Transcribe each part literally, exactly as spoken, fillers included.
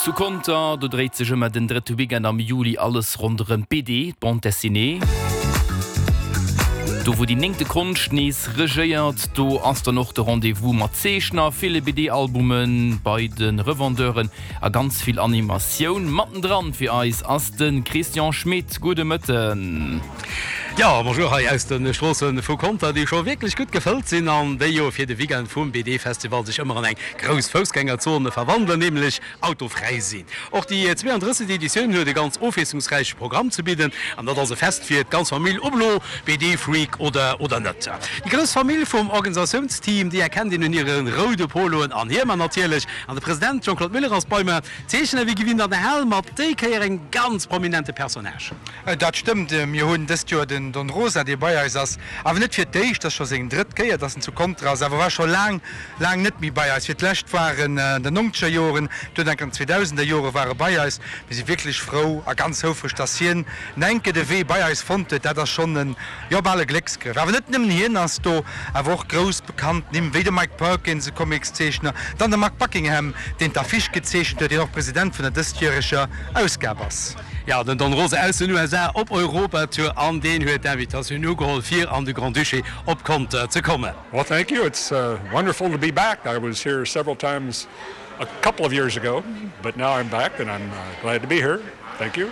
Zu Conter, do dréit sech ëmmer den drëtte Weekend am Juli alles ronderëm d'BD, d'Bande Dessinée. Do wou déi néngte Konscht nees regéiert, do ass dann och de Rendez-vous mat Zeechner, ville BD-Albume bei de Revendeuren a ganz vill Animatioun. Mattendran fir eis ass de Christian Schmit. Gudde Mëtten. Jo, bonjour hei aus de Stroosse vu Conter, déi scho wierklech gutt gefëllt sinn an déi jo fir de Weekend vum BD-Festival sech ëmmer an eng grouss Foussgängerzone verwandelen, nämlech autofräi sinn. Och déi zweeandrësseg. Editioun huet e ganz ofwiesslungsräiche Programm ze bidden an dat ass e Fest fir d'ganz Famill, ob elo B D-Freak oder oder net. Déi grouss Famill vum Organisatiounsteam, déi erkennt een un hire roude Poloen an Hiemer natierlech. An de President Jean-Claude Muller ass bei mer. Zeechner wéi gewinnt an der Hal mat déi Kéier engem ganz prominente Personnage. Dat stëmmt. Mir hunn dëst Joer den Don Rosa, dee bei eis ass, awer net fir d'éischt, ass scho seng drëtt Kéier, dass en zu Conter ass, awer war scho laang, laang net méi bei eis. Fir d'lescht war en an den nongzeger Joren, duerno enk an den zweedausender Jore war e bei eis. Mir si wierklech frou a ganz houfreg, dass hien enke de Wee bei eis fonnt huet. Dat ass schonn en, jo, bal e Glécksgrëff. Awer net nëmmen hien ass do, awer och grouss bekannt Nimm wéi de Mike Perkins, e Comicszeechner, dann de Mark Buckingham, deen d'Affiche gezeechent huet, deen och President vun der dëstjäreger Ausgab ass. Jo, den Don Rosa aus den U S A op Europatour an deen huet d'Invitatioun ugeholl fir an de Grand-Duché op Conter ze kommen. Well, thank you. It's uh, wonderful to be back. I was here several times a couple of years ago, but now I'm back and I'm uh, glad to be here. Thank you.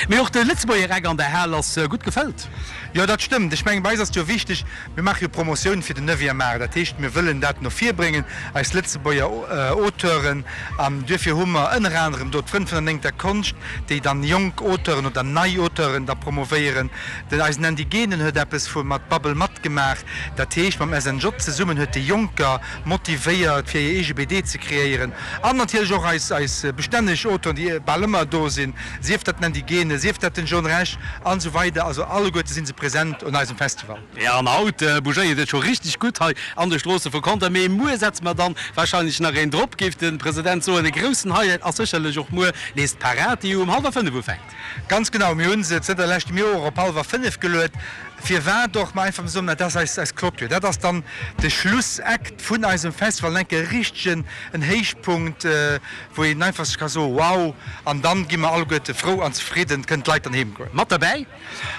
Mee och de Lëtzebuerger Eck an der Hal ass gutt gefëllt. Jo, dat stëmmt. Ech mengen, bei eis ass et jo wichteg, mir maache jo Promotioun fir den Neuvième Art. Dat heescht, mir wëllen dat no vir bréngen, eis Lëtzebuerger Auteuren. An duerfir hu mer ënner anerem do d'Frënn vun der Néngter Konscht, déi dann jonk Auteuren oder nei Auteuren da promovéieren. Den eisen Andy Genen huet eppes vu mat Bubble matgemaach. Dat heescht, mam S N J zesummen huet déi Jonker motivéiert, fir hir eege B D ze kreéieren. An natierlech och eis eis bestänneg Auteuren, déi bal ëmmer do sinn, sief dat den Andy Genen, sief dat den John Rech an esou weider. Also alleguerte si se present un eisem Festival. Jo, an haut bougéiert et scho richteg gutt hei an de Stroosse vu Conter. Mee muer setze mer dann warscheinlech nach een drop, géif de President soen. E groussen Highlight ass sécherlech och muer nees d'Parad, déi um hallwer fënnef ufänkt. Ganz genau, mir hu se zënter leschtem Joer op hallwer fënnef geluet. Firwat och? Ma einfach soen, dat ass eis eis Clôture. Dat ass dann de Schlussakt vun eisem Festival, enke richtegen en Héichpunkt, wou een einfach sech ka soen, wow, an dann gi mer alleguerte frou an zefridden, kënnen d'Leit dann heem goen. Mat derbäi?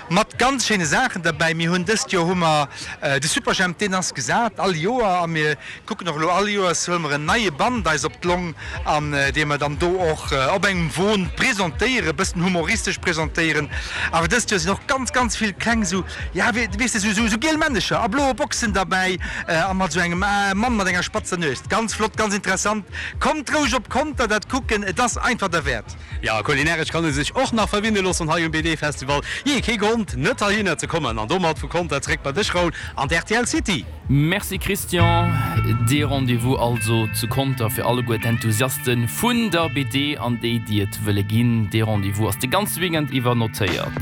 Mat ganz schéine Saachen derbäi. Mir hunn dëst Joer hu mer de Superjhemp, deen ass gesat all Joer a mir kucken och elo all Joers huele mer en neie Band eis op d'Long an dee mer dann do och op engem Won presentéieren, e bëssen humoristesch presentéieren. Awer dëst Joer sinn och ganz, ganz vill kleng esou, ja, weess de, esou, esou giel Männecher a bloe Boxen derbäi a mat esou engem Mann mat enger spatzer Nues. Ganz flott, ganz interessant. Kommt roueg op Conter dat kucken, et ass einfach derwäert. Jo, kulinaresch kann ee sech och nach verwinne loossen hei um B D-Festival. Jee, kee Grond net heihinner ze kommen. An domat vu Conter zréck bei dech, Raoul, an d'R T L City. Merci Christian. Dee Rendez-vous also zu Conter fir alleguer d'Enthusiaste vun der B D an déi, déi et wëlle ginn. Dee Rendez-vous ass de ganze Weekend iwwer notéiert.